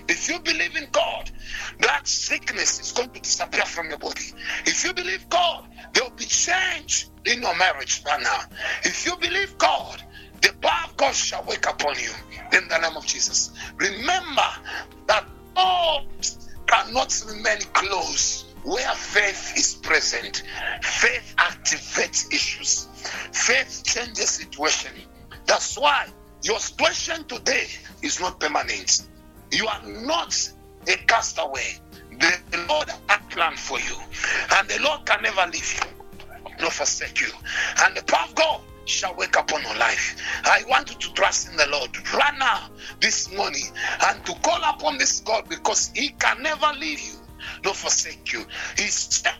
If you believe in God, that sickness is going to disappear from your body. If you believe God, there will be change in your marriage right now. If you believe God, the power of God shall wake upon you in the name of Jesus. Remember that doors cannot remain closed where faith is present. Faith activates issues. Faith changes situation. That's why your situation today is not permanent. You are not a castaway. The Lord has a plan for you, and the Lord can never leave you nor forsake you. And the power of God shall wake up on your life. I want you to trust in the Lord right now, this morning, and to call upon this God, because He can never leave you nor forsake you. He said,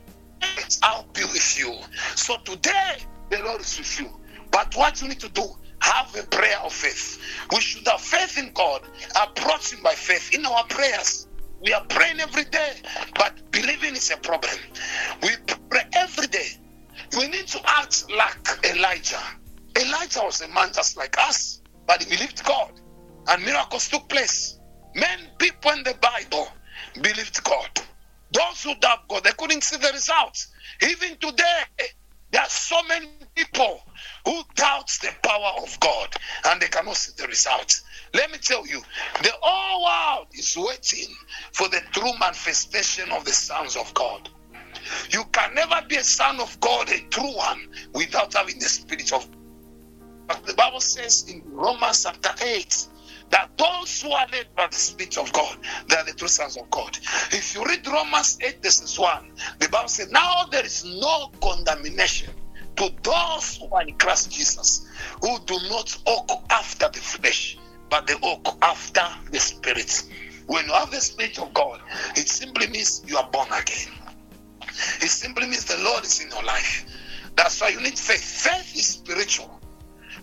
I'll be with you. So today, the Lord is with you. But what you need to do, have a prayer of faith. We should have faith in God, approach Him by faith in our prayers. We are praying every day, but believing is a problem. We pray every day. We need to act like Elijah. Elijah was a man just like us, but he believed God, and miracles took place. Many people in the Bible believed God. Those who doubt God, they couldn't see the results. Even today, there are so many people who doubt the power of God and they cannot see the results. Let me tell you, the whole world is waiting for the true manifestation of the sons of God. You can never be a son of God, a true one, without having the Spirit of God. The Bible says in Romans chapter 8 that those who are led by the Spirit of God, they are the true sons of God. If you read Romans 8, verse 1, the Bible says, now there is no condemnation to those who are in Christ Jesus, who do not walk after the flesh, but they walk after the Spirit. When you have the Spirit of God, it simply means you are born again. It simply means the Lord is in your life. That's why you need faith. Faith is spiritual.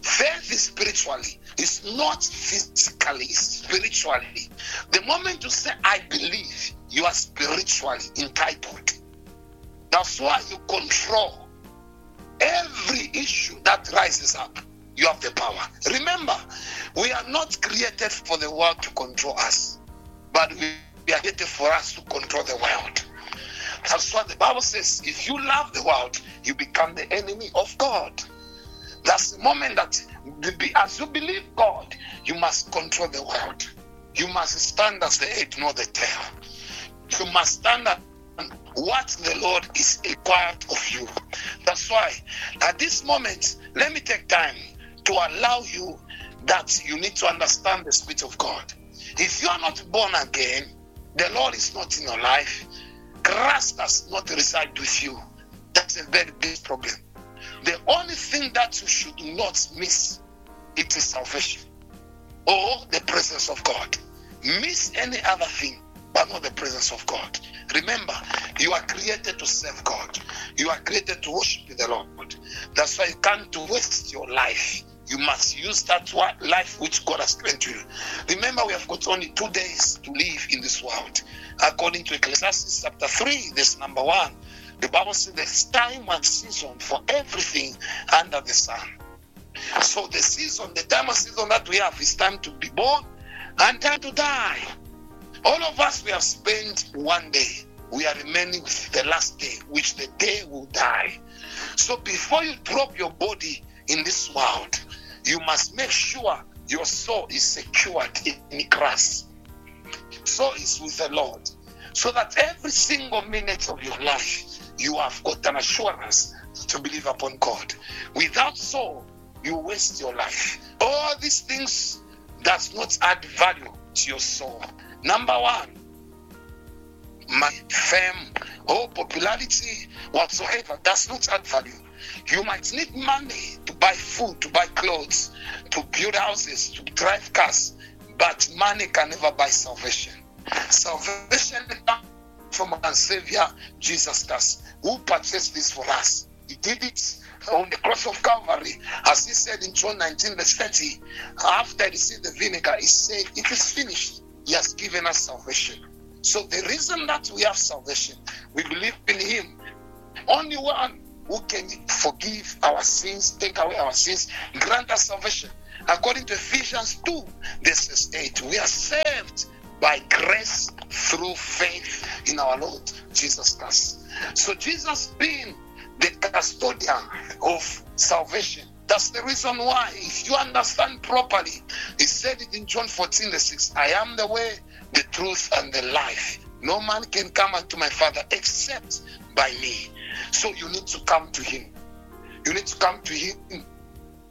Faith is spiritually. It's not physically, it's spiritually. The moment you say, I believe, you are spiritually entitled. That's why you control every issue that rises up. You have the power. Remember, we are not created for the world to control us, but we are created for us to control the world. That's why the Bible says, if you love the world, you become the enemy of God. That's the moment that, as you believe God, you must control the world. You must stand as the head, not the tail. You must stand at what the Lord is required of you. That's why, at this moment, let me take time to allow you that you need to understand the Spirit of God. If you are not born again, the Lord is not in your life, Christ does not reside with you. That's a very big problem. The only thing that you should not miss, it is salvation or the presence of God. Miss any other thing, but not the presence of God. Remember, you are created to serve God. You are created to worship the Lord. That's why you can't waste your life. You must use that life which God has granted you. Remember, we have got only 2 days to live in this world. According to Ecclesiastes chapter 3, verse number 1, the Bible says there's time and season for everything under the sun. So the season, the time and season that we have is time to be born and time to die. All of us, we have spent one day. We are remaining with the last day, which the day will die. So before you drop your body in this world, you must make sure your soul is secured in Christ. So is with the Lord. So that every single minute of your life, you have got an assurance to believe upon God. Without soul, you waste your life. All these things does not add value to your soul. Number one, my fame or popularity whatsoever does not add value. You might need money to buy food, to buy clothes, to build houses, to drive cars, but money can never buy salvation. Salvation comes from our Savior Jesus Christ, who purchased this for us. He did it on the cross of Calvary, as he said in John 19 verse 30, after he received the vinegar, he said, it is finished. He has given us salvation. So the reason that we have salvation, we believe in him. Only one who can forgive our sins, take away our sins, grant us salvation. According to Ephesians 2, verse 8, we are saved By grace through faith in our Lord Jesus Christ. So Jesus being the custodian of salvation. That's the reason why, if you understand properly, he said it in John 14, the 6, I am the way, the truth, and the life. No man can come unto my Father except by me. So you need to come to him. You need to come to him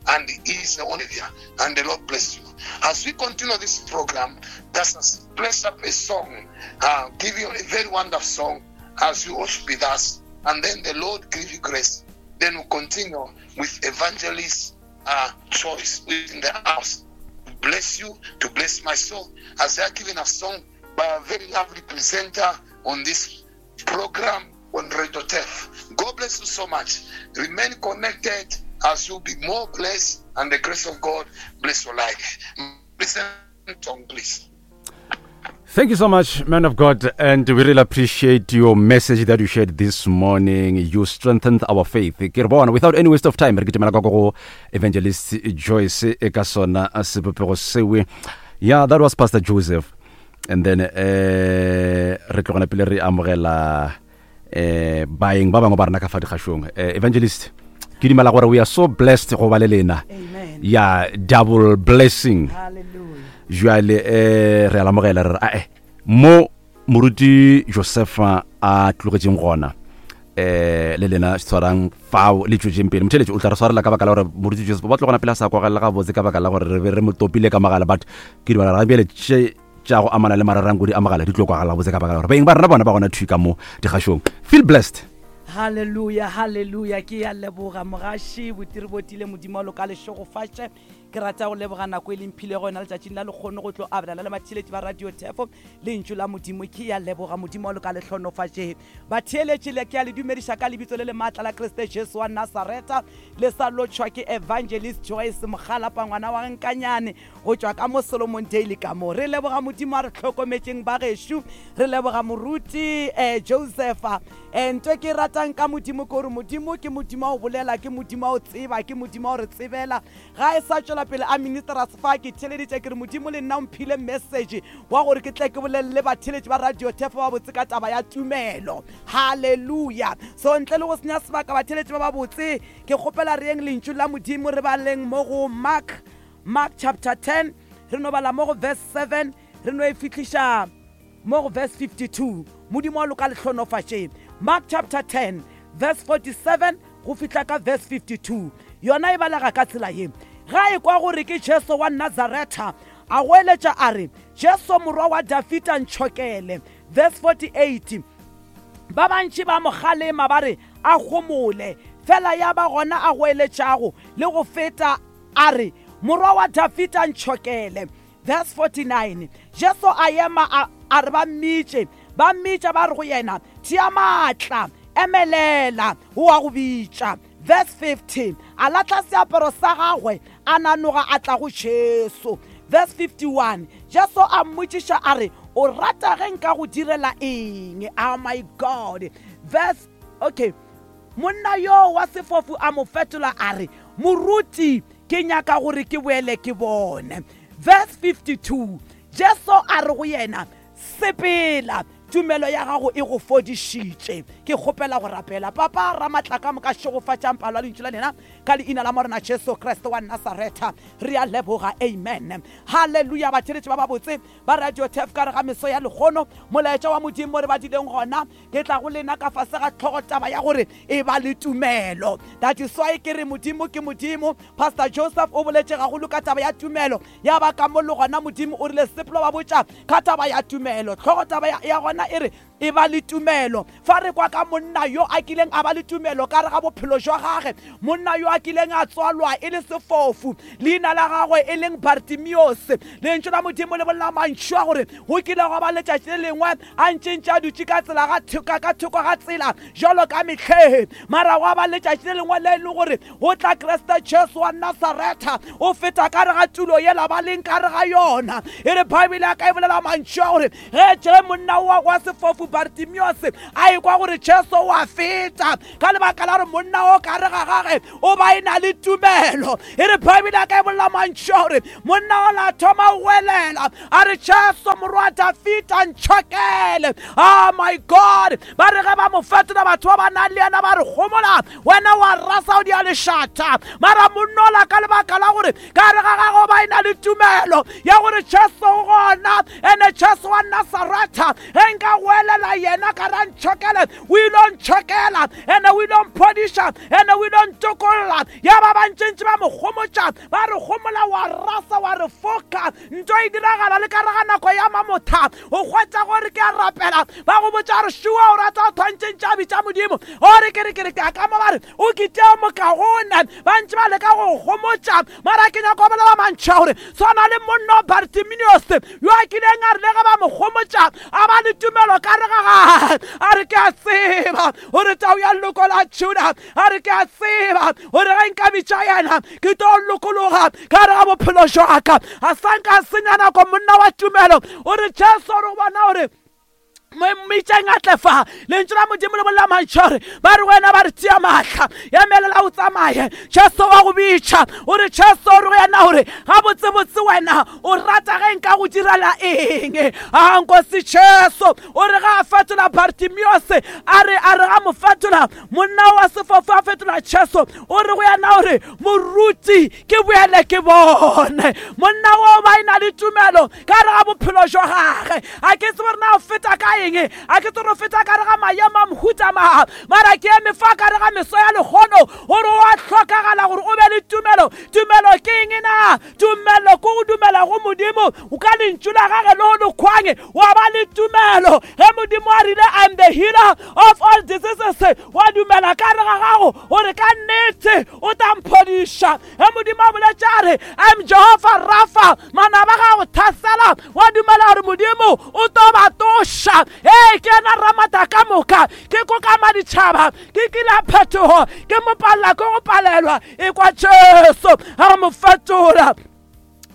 and he is the only there. And the Lord bless you. As we continue this program, let us place up a song, uh, give you a very wonderful song as you worship with us. And then the Lord give you grace. Then we continue with evangelist uh, choice within the house. Bless you to bless my soul. As they are giving a song by a very lovely presenter on this program on Radio Tef. God bless you so much. Remain connected as you'll be more blessed and the grace of God bless your life. Listen, song, please. Thank you so much, man of God, and we really appreciate your message that you shared this morning. You strengthened our faith. Ke re bona, without any waste of time, re kitimela ka go Evangelist Joyce e ka sona sebopego sewe. Yeah, that was Pastor Joseph. And then eh re tlogela pele re amogela eh baeng ba bangwe ba rena ka fa dikgašong. Eh, Evangelist, ke dumela gore we are so blessed go ba le lena. Amen. Yeah, double blessing. Hallelujah. Jwale eh re a lamogela re re ae mo moruti Josefa a tlogetšeng gona eh le lena tshwarang fao le tšwetšeng pele motheletši o tla re swarela ka baka la gore moruti Joseph ba tlogona pele a sa kwagelela gabotse ka baka la gore re be re mo topile ka mogala but ke dumela ga bjale tše tša go amana le mararankodi a mogala di tlo kwagala gabotse ka baka la gore beng ba rena bona ba gona thwi ka mo dikgašong feel blessed Hallelujah, hallelujah. Ke ya leboga mogaši botiri botile modimo wa loka le šegofatše. Ke rata go leboga nako e le mphilego yona letšatšing la lekgono go tlo abelana le batheeletši ba Radio Thefo lentšu la Modimo. Ke ya leboga Modimo wa loka le hlonofatše. Batheeletši le ke ya le dumediša ka lebitso le le maatla la Kriste Jesu wa Nasaretha. Le sa lotšhwa ke Evangelist Joyce Mokgalapa ngwana wa Nkanyane go tšwa ka mo Solomon Daily ka mo. Re leboga Modimo a re hlokometšeng ba gešo. Re leboga moruti eh, Josepha. Eh, nto ke e ratang ka Modimo ke gore Modimo ke Modimo wa go bolela, ke Modimo wa go tseba, ke Modimo wa go re tsebela. Ga e sa tšwela pele a ministers fa ke theeleditše ke re Modimo le nna o mphile message wa gore ke tle ke bolelele batheeletši ba Radio Thefo ba botse ka taba ya tumelo. Haleluya! So ntle le go senya sebaka batheeletši ba babotse ke kgopela re yeng lentšu la Modimo re baleng mo go Mark Mark chapter 10 re no bala mo go verse 7 re no e fihliša mo go verse 52. Modimo wa loka le hlonofatše. Mark chapter 10 verse 47 go fihla ka verse 52. Yona e balega ka tsela ye, Ge a ekwa gore ke Jesu wa Nazaretha, a goeletša a re, Jesu Morwa wa Dafida, ntšhokele! Verse 48, Ba bantši ba mo kgalema ba re a homole, fela ya ba gona a goeletšago le go feta a re, Morwa wa Dafida, ntšhokele! Verse 49, Jesu a ema a, a re ba mmitše. Ba mmitša ba re go yena, Tia maatla, emelela, o a go bitša. Verse 50, A lahla seaparo sa gagwe, a nanoga a tla go Jesu. Verse 51, Jesu a mmotšiša a re, O rata ge nka go direla eng? Oh my God. Verse, okay. Monna yoo wa sefofu a mo fetola a re, Moruti, ke nyaka gore ke boele ke bone. Verse 52, Jesu a re go yena, Sepela, tumelo ya gago e go fodišitše. Ke kgopela go rapela. Papa Ramatlakamoka, šegofatšang palo ya lentšu la lena ka leina la Morena Jesu Kriste wa Nasaretha. Re a leboga. Amen. Haleluya. Batheeletši ba babotse ba Radio Turf ka re ga meso ya lehono, molaetša wa Modimo mo re badileng gona, Ke tla go lena ka fase ga tlhogotaba ya gore e ba le tumelo. That is why ke re Modimo ke Modimo. Pastor Joseph o boletše gagolo ka taba ya tumelo. Ya ba ka mo le gona Modimo o rile sepelo ba botša ka taba ya tumelo. Tlhogotaba ya, ya gona e re e ba le tumelo. Fa re kwa ka monna yo a kileng a ba le tumelo ka re ga bophelo jwa gage, monna yo a kileng a tswalwa e le sefofu, leina la gagwe e leng Bartimiose. Lentšu la Modimo le bolela mantšu a gore go kile gwa ba letšatši le lengwe a ntše ntše a dutše ka tsela ga thoka ka thoko ga tsela jalo ka mehleng mara gwa ba letšatši le lengwe le e le gore go tla Kriste Jesu wa Nasaretha o feta ka re ga tulo yela ba leng ka re ga yona e re Bible ya ka e bolela mantšu a gore ge je monna wa wa sefofu Bartimiose a ekwa gore Jesu o a feta, ka lebaka la gore monna o ka re ga gage o ba e na le tumelo. E re Bible ya ka e bolela mantšu a gore monna o la thoma go welela a re, Jesu morwa Dafita, ntšhokele. Oh my God! Ba re ge ba mo fetola batho ba ba nang le yena ba re, Gomola wena wa rasa o dia lešata. Mara monnola ka lebaka la gore ka re ga gago ba e na le tumelo ya gore Jesu o gona, ene Jesu wa Nasaretha, ge nka goelela yena ka ra ntšhokele, o ile ntšhokela, ene o ile mphodiša, ene o ile ntokolla. Ya ba bantšintši ba mo gomotša ba re, Gomola wa rasa wa re foka. Nto e diragala le ka re ga nako ya mamotha, o hwetša gore ke a rapela, ba go botša gore šua o rata o thwantšentše a bitša Modimo, ore ke re ke re ke a ka mo ba re o kiteo mokagone. Ba ntše ba leka go gomotša, mara ke nyako bolela mantšha gore swana le monna Bartiminios yo a kileng a re le ge ba mo gomotša a ba le tumelo ka re ga gage, a re ke a tseba gore tau ya leloko la Juda, a re ke a tseba gore ge nka bitša yena ke tlo lokologa ka re ga bophelo jwaka. A sa nka senya nako monna wa tumelo o re Jesu re go bona gore mmitšeng a tle fa. Lentšu la Modimo le bolela mantšu gore ba re wena ba re tia maatla ya melela o tsamaye, Jesu wa go bitša. O re Jesu o re go yena gore gabotsebotse wena o rata ge nka go direla eng? A nkosi Jesu o re ga a fetola Bartimiose, a re a re ga mo fetola monna wa sefofu a fetola Jesu, o re go yena gore moruti ke boele ke bone. Monna wo ba e na le tumelo ka re ga bophelo jwa gage. A ke tsebe gore na o feta ka eng, a ke tsebe gore o feta ka re ga maemo a mohuta mang, mara ke eme fa ka re ga meso ya lehono gore o a hlokagala gore o be le tumelo. Tumelo ke eng na? Tumelo ke go dumela go Modimo ka lentšu la gage le go lekhwang, wa ba le tumelo ge Modimo a rile I'm the healer of all diseases, wa dumela ka re ga gago gore ka nnete o tla mphodiša. Ge Modimo a boletše a re I'm Jehovah Rapha, manaba ga go thasela, wa dumela gore Modimo o tlo ba toša. Ee, ke yena Ramata ka moka, ke kokama ditšhaba, ke kila phetogo, ke mo palela ke go palelwa. Ekwa Jesu a mo fetola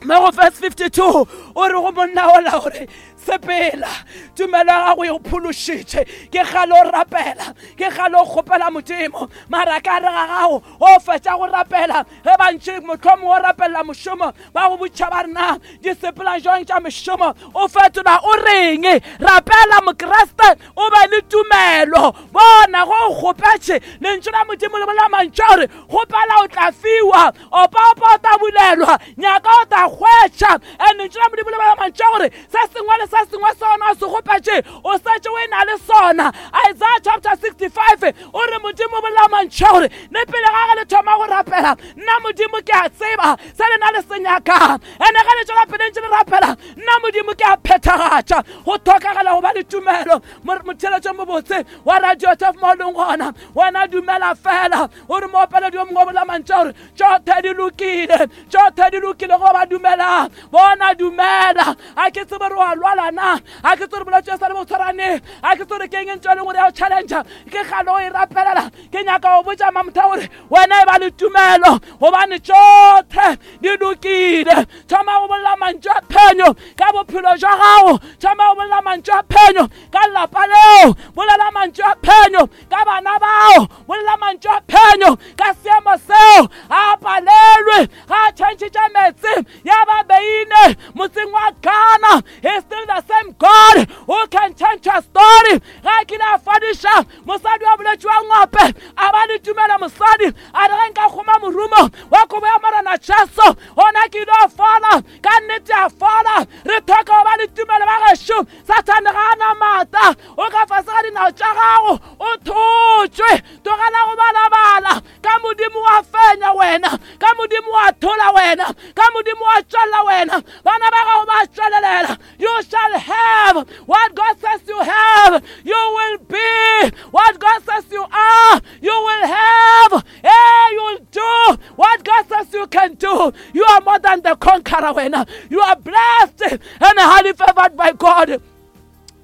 mo go verse 52, o re go monna ola gore sepela, tumelo ya gago e go phološitše. Ke kgale o rapela, ke kgale o kgopela Modimo, mara ka re ga gago o fetša go rapela, ge bantši mohlomongwe o rapelela mošomo, ba go botša ba rena di sepela jwang tša mešomo, o fetola o reng? Rapela Mokriste, o be le tumelo. Bona go o kgopetše, lentšu la Modimo le bolela mantšu a gore kgopela o tla fiwa, opaopa o tla bulelwa, nyaka o tla hwetša. And lentšu la Modimo le bolela mantšu a gore se sengwe le se sengwe sona o se kgopetše o setse o e na le sona. Isaiah chapter 65 o re Modimo o bolela mantšu a gore le pele ga ge le thoma go rapela, nna Modimo ke a tseba se lena le se nyakang. Ene ge le tšwela pele ntše le rapela, nna Modimo ke a phethagatša. Go hlokagala go ba le tumelo. Motheeletšo mobotse wa radio tef mo leng gona, wena dumela fela gore moopeledi yo mongwe o bolela mantšu a gore tšothe di lokile, tšothe di lokile go ba dumelang. Bona dumela. A ke tsebe gore wa lwala na, a ke tsebe gore bolwetse sa le bo tshwarane, a ke tsebe gore ke eng ntho e leng gore ya go challenge, ke kgale o e rapelela. Ke nyaka go botša mamotha gore wena e ba le tumelo gobane tšothe di lokile. Thoma go bolela mantšu a phenyo ka bophelo jwa gago, thoma go bolela mantšu a phenyo ka lapa leo, bolela mantšu a phenyo ka bana bao, bolela mantšu a phenyo ka seemo seo. A palelwe ga a tšhentšhe meetse ya ba beine motseng wa Ghana. He is still the same God who can change your story. Ga a kile a fadiša mosadi wa bolwetši wa ngope, a ba le tumelo mosadi a re ge nka kgoma morumo wa kobo ya Morena Jesu gona ke ile fola. Ka nnete a fola. Re tlhoka go ba le tumelo ba gešo. Sathane ga a na maatla, o ka fase ga dinao tša gago, o thotšwe. Tlogela go balabala ka Modimo wa fenya wena, ka Modimo wa thola wena, ka Modimo wa tšwelela wena. Bana ba gago ba tšwelelela. You shall have what God says you have. You will be what God says you are. You will have. Hey, you will do what God says you can do. You are more than the conqueror wena. You are blessed and highly favored by God.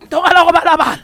Tlogela go balabala,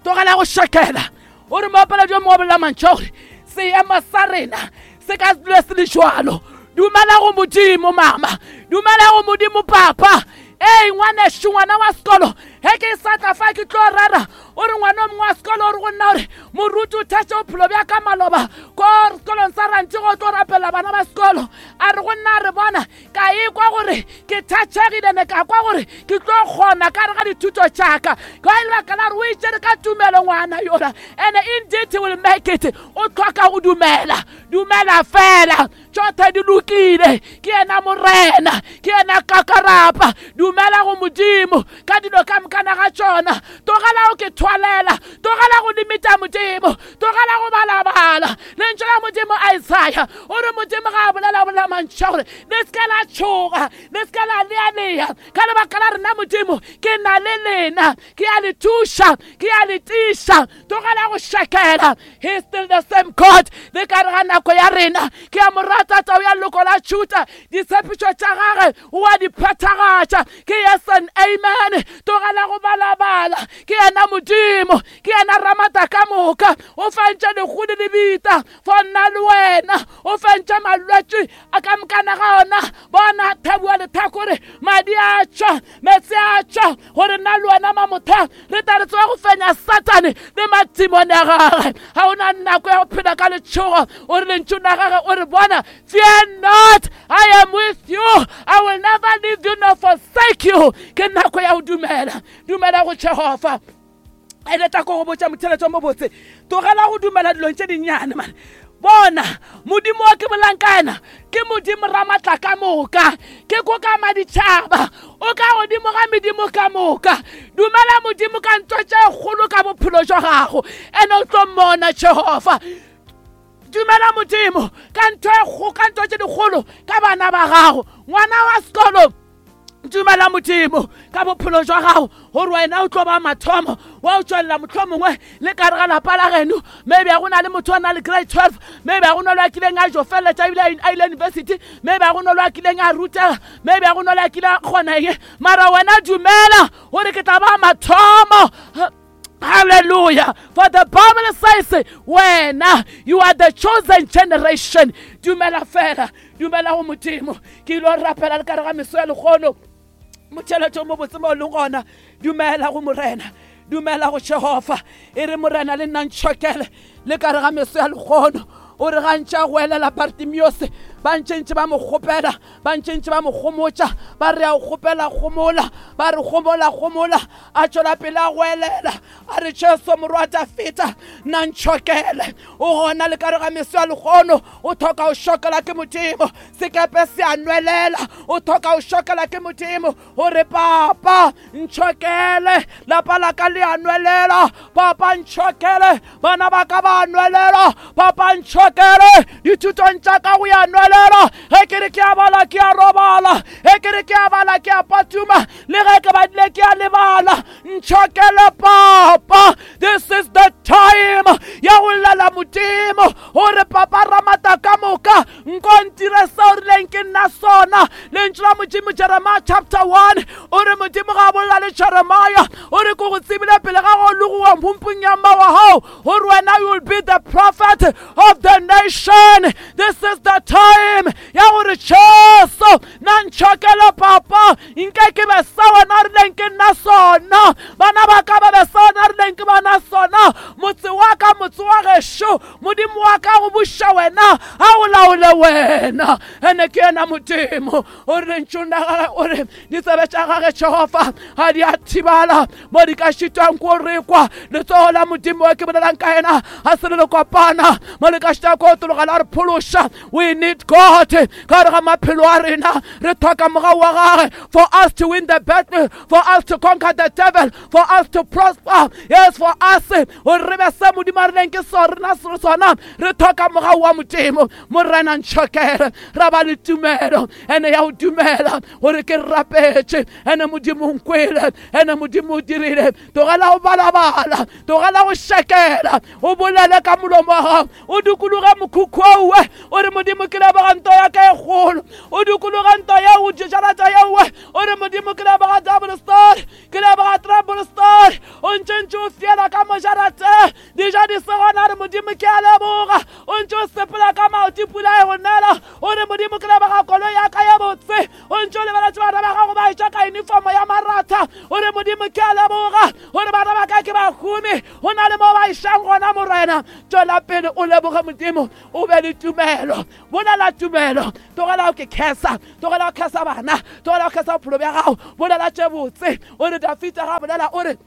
tlogela go šekela. O re moopeledi yo mongwe o bolela mantšu a gore seemo sa rena se ka se dule se le jwalo. Dumela go Modimo mama, dumela go Modimo papa. Ee, ngwanešu, ngwana wa sekolo, ge ke sa tla fa ke tlo rera, o re ngwana o mongwe wa sekolo o re go nna gore moruti o thetse bophelo bja ka maloba ko sekolong sa rantši go tlo rapela bana ba sekolo. A re go nna a re bona ka ekwa gore ke thatšhegile ne ka kwa gore ke tlo kgona ka re ga dithuto tšaka ka lebaka la gore o itšere ka tumelo ngwana yola, and indeed he will make it. O tlhoka go dumela, dumela fela, tšothe di lokile. Ke yena Morena, ke yena kakarapa. Dumela go Modimo ka dilo ka mokana ga tšona. Tlogela go ke thwalela, tlogela go limita Modimo, tlogela go balabala. Lentšu la Modimo Isaya o re Modimo ga a bolela bolela mantšu a gore le se ke la tšhoga, le se ke la lealea, ka lebaka la rena Modimo ke na le lena, ke a le thuša, ke a le tiša. Tlogela go šakela. He is still the same God le ka re ga nako ya rena. Ke a mo rata tau ya leloko la Juda, ditshepišo tša gage o a di phethagatša, ke yes and amen. Tlogela go balabala. Ke yena Modimo, ke yena Ramata ka moka. O fentše lehu le lebita for nna le wena, o fentše malwetši a ka mokana ga ona. Bona thabua lethakore, madi a tšwa, meetse a tšwa, gore nna le wena mamotha re tla re tseba go fenya Satane le madimone a gagwe. Ga o na nako ya go phela ka letšhogo. O re lentšu la gage o re bona, fear not, I am with you, I will never leave you nor forsake you. Ke nako ya go dumela, dumela go Jehofa. Ene tla ko go botša motheletso mo botse, tlogela go dumela dilong tše dinnyane mane. Bona Modimo wa ke bolang ka yena ke Modimo Ramatla ka moka, ke ko ka maditšhaba, o ka godimo ga medimo ka moka. Dumela Modimo ka ntho tše kgolo ka bophelo jwa gago, ene o tlo mmona Jehofa. Dumela Modimo ka ntho e ka ntho tše dikgolo ka bana ba gago. Ngwana wa sekolo, dumela Modimo ka bophelo jwa gago gore wena o tlo ba mathomo wa o tswelela motlho mongwe le ka re ga lapa la geno. Maybe a go na le motho a na le grade 12, maybe a go na le a kileng a jo feleletša ebile a ile university, maybe a go na le a kileng a rutega, maybe a go na le a kile a kgona eng, mara wena dumela gore ke tla ba mathomo. Hallelujah. For the Bible says, when you are the chosen generation, dumela fela, dumela go Modimo. Ke ile rapela le ka re ga meso ya lekgono. Motšheletšo mo botse mo leng gona, dumela go Morena, dumela go Jehofa. E re Morena le nna ntšhokele le ka re ga meso ya lekgono. O re gantši a go elela Bartimiose, ba ntšentše ba mo kgopela, ba ntšentše ba mo gomotša, ba re a o kgopela gomola, ba re gomola gomola, a tšwela pele a go elela, a re Jesu morwa Dafita nna ntšhokele. O gona le ka re ga meso ya lekgono, o thoka o šokela ke Modimo, sekepe se a nwelela, o thoka o šokela ke Modimo, gore papa ntšhokele, lapa la ka le a nwelela, papa ntšhokele, bana ba ka ba nwelela, papa ntšhokele, dithutong tša ka go ya nwelela. Ge ke re ke a bala ke a robala, ge ke re ke a bala ke a patuma, le ge ke badile ke a lebala. Ntšhokele papa. This is the time ya go llela Modimo gore papa Ramata ka moka nko ntire seo rileng ke nna sona. Lentšu la Modimo Jeremiah chapter 1 o re Modimo ga a bolela le Jeremiah, o re ko go tsebile pele ga go logowa mpumpung ya mma wa gago gore wena you will be the prophet of the nation. This is the time ya gore Jesu na ntšhokele papa, nke ke be sa wena rileng ke nna sona, bana ba ka ba be sa wena rileng ke bana sona, motse wa ka motse wa gešo, Modimo wa ka go buša wena, a o laole wena. Ene ke yena Modimo. O re lentšung la gage o re ditsebe tša gage Jehofa ga di a thibala mo di ka šitwang ko re kwa. Letsogo la Modimo wa ke bolelang ka yena ga se le le kopana mo le ka šitwa ko tologa la re phološa. We need God ka gare ga maphelo a rena, re tlhoka mogau wa gage for us to win the battle, for us to conquer the devil, for us to prosper, yes, for us gore re be se Modimo a rileng ke sona sona. Re tlhoka mogau wa Modimo. Morena ntšhokele, ra ba le tumelo ene ya go dumela gore ke rapetše ene Modimo nkwele, ene Modimo o dirile. Tlogela go balabala, tlogela go šekela, o bolele ka molomo wa gago, o dikologe mokhukhu owe, o re Modimo ke leboga nto ya ka e kgolo. O dikologe nto yeo, jarata yeowe, o re Modimo ke leboga double story, ke leboga triple story. O ntše ntše o fiela ka mojarate, dijo di se gona, re Modimo ke a leboga. O ntše o sepela ka maoto, pula e go nela, o re Modimo ke leboga koloi ya ka ye botse. O ntše o lebeletše bana ba gago ba etša ka uniformo ya Modimo ke a leboga gore bana ba ka ke bahumi go na le mo ba išang gona Morena. Tšwela pele o leboge Modimo, o be le tumelo, bolela tumelo, tlogela go ke khesa, tlogela go khesa bana, tlogela go khesa bophelo bja gago, bolela tše botse. O re Dafita ga bolela o re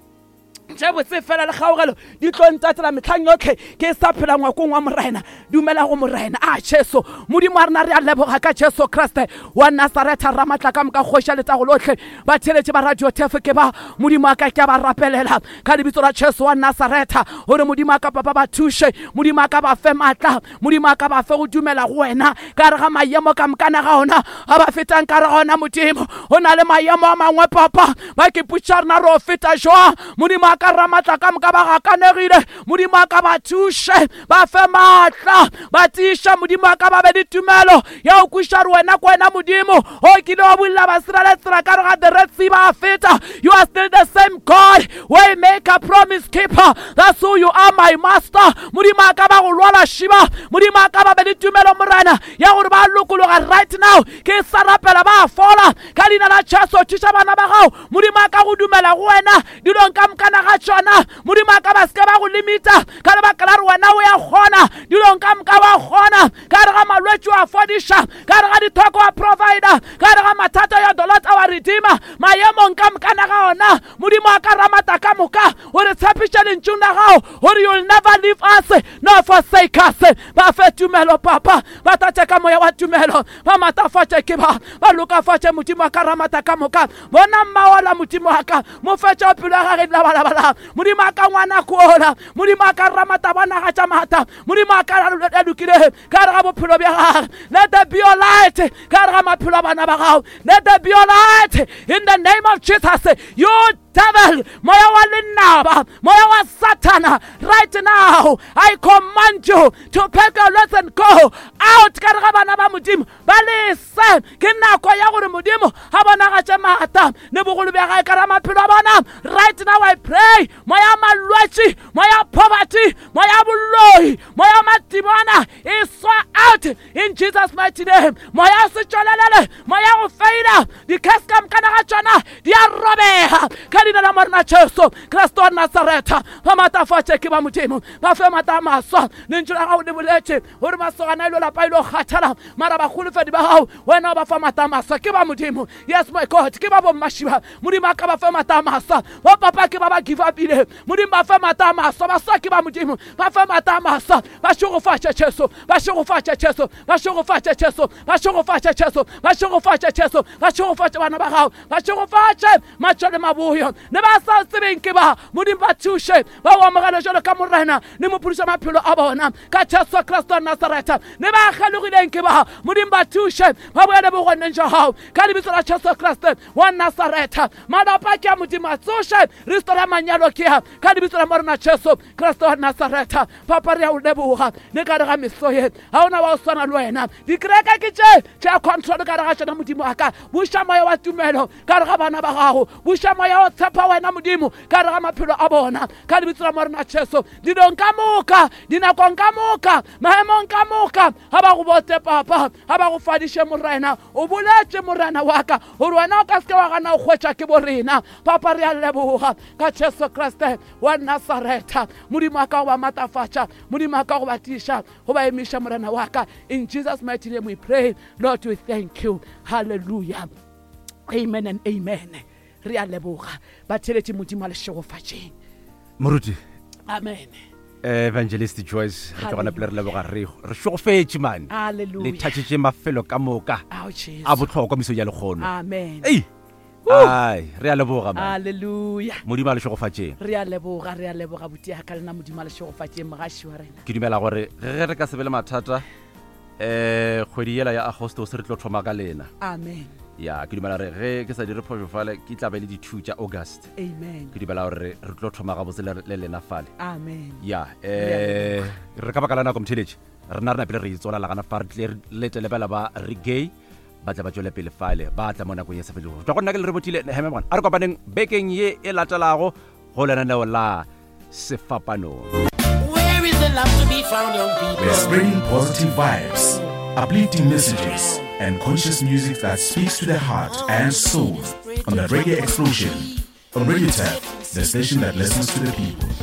tše botse fela le kgaogelo di tlo ntatela metlhang yotlhe ke sa phela ngwakong wa Morena. Dumela go Morena a Jesu Modimo wa rena. Re a leboga ka Jesu Kriste wa Nasaretha, ramatla ka moka, kgoši ya letago lotlhe. Batheletše ba radio tefo ke ba Modimo a ka, ke a ba rapelela ka lebitso la Jesu wa Nasaretha, gore Modimo a ka papa ba thuše, Modimo a ka ba fe maatla, Modimo a ka ba fe go dumela go wena ka re ga maemo ka mokana ga ona a ba fetang ka re ga ona. Modimo, go na le maemo a mangwe papa ba ke putša rena re o feta jwang. Modimo a ka ramatla ka moka ba gakanegile, Modimo a ka ba thuše, ba fe maatla, ba tiiša. Modimo a ka ba be le tumelo ya go kwiša re wena ke wena Modimo o kile wa bulela basirele tsela ka re ga the Red Sea ba feta. You are still the same God, way maker, promise keeper. That's who you are, my master. Modimo a ka ba go lwala šiba, Modimo a ka ba be le tumelo Morena ya gore ba lokologa right now. Ke sa rapela ba fola ka leina la Jesu. Thuša bana ba gago Modimo a ka go dumela go wena dilong ka mokana ga tšona. Modimo a ka ba seke ba go limita ka lebaka la re wena o ya kgona dilong ka moka, wa kgona ka re ga malwetši wa fodiša, ka re ga dithoko wa provider, ka re ga mathata ya the Lord our Redeemer. Maemong ka mokana ga ona Modimo a ka ramata ka moka, o re tshepiša lentšung la gago gore you'll never leave us nor forsake us. Ba fe tumelo papa, ba tlatše ka moya wa tumelo, ba matafatše ke ba ba lokafatše. Modimo a ka ramata ka moka, bona mmaola Modimo a ka mo fetša pelo ya gage labalabala. Modimo a ka ngwana kola, Modimo a ka ramata bona ga tša mata. Modimo a ka a lokile ka re ga bophelo bja gage. Let there be your light ka re ga maphelo a bana ba gago. Let there be your light in the name of Jesus. You devil, moya wa lenaba, moya wa Satana, right now I command you to pack your loads and go out ka re ga bana ba Modimo. Ba lese, ke nako ya gore Modimo a bonagatše maata le bogolo bja gae ka ra maphelo a bona. Right now I pray, moya malwetši, moya poverty, moya boloi, moya madimona e swa out in Jesus mighty name. Moya se tšwelelele, moya go feila, di-curse ka mokana ga tšona di a robega ka leina la Morena Jesu Kriste wa Nasaretha. Ba maatafatše ke ba Modimo, ba fe maata a maswa. Lentšu la gago le boletše gore masogana a ilo lapa ilo kgathala, mara bagolofedi ba gago wena o ba fa maata a maswa. Ke ba Modimo, yes my God, ke ba bommašiba. Modimo a ka ba fe maata a maswa. Bo papa ke ba ba give upile, Modimo ba fe maata a maswa. Baswa ke ba Modimo, ba fe maata a maswa. Ba šegofatše Jesu, ba šegofatše Jesu, ba šegofatše Jesu, ba šegofatše Jesu, ba šegofatše Jesu, ba šegofatše bana ba gago, ba šegofatše matšo le maboyo. Le ba sa tsebeng ke ba Modimo, ba thuše ba o amogele jalo ka Morena le mophološa maphelo a bona ka Jesu Kriste wa Nasaretha. Le ba kgelogileng ke ba Modimo, ba thuše ba boele bogoneng jwa gago ka lebitso la Jesu Kriste wa Nasaretha. Malapa ke a Modimo, a tsoše restora manyalo ke a ka lebitso la Morena Jesu Kriste wa Nasaretha. Papa, re a o leboga le ka re ga meso ye, ga ona wa o swana le wena. Dikereke ke tše tša control ka re ga tšona. Modimo a ka buša moya wa tumelo ka re ga bana ba gago, buša moya wa tshepa wena Modimo ka re ga maphelo a bona ka lebitso la Morena Jesu. Dilong ka moka, dinakong ka moka, maemong ka moka, ga ba go bote papa, ga ba go fadiše Morena. O boletše Morena wa ka gore wena o ka seke wa gana go hwetša ke bo rena. Papa, re a leboga ka Jesu Kriste wa Nasaretha. Modimo a ka go ba matafatša, Modimo a ka go ba tiiša, go ba emiša Morena wa ka. In Jesus mighty name we pray. Lord, we thank you. Hallelujah, amen and amen. Re a leboga batheletše, Modimo a le šegofatšeng. Moruti. Amen. Evangelist Joyce, re tlogana pele re leboga, re re šogofetše mane, le thatšetše mafelo ka moka a bohlokwa mesong ya lekgono. Amen. Ei, ai, re a leboga man. Hallelujah. Modimo a le šegofatšeng. Re a leboga, re a leboga botia ka lena. Modimo a le šegofatšeng mogaši wa rena. Ke dumela gore ge re ka se be le mathata, kgwedi yela ya Agostos re tlo thoma ka lena. Amen. Ya, ke dumela gore ge ke sa dire phošo fale ke tla be le di-2 tša August. Amen. Ke dumela gore re tlo thoma gabotse le lena fale. Amen. Ya, re ka baka la nako motheletše, rena re napile re itsola lagana fa, re tle re letele bela ba re gay ba tla ba tšwele pele fale, ba tla mo nakong ye sa felego. Tšwa go nna ke le re botile heme gona. A re kopaneng bekeng ye e latelago go lenaneo la Sefapanong. Where is the love to be found, young people? We're spreading positive vibes, uplifting messages, and conscious music that speaks to the heart and soul on the Reggae Explosion. On Radio Tap, the station that listens to the people.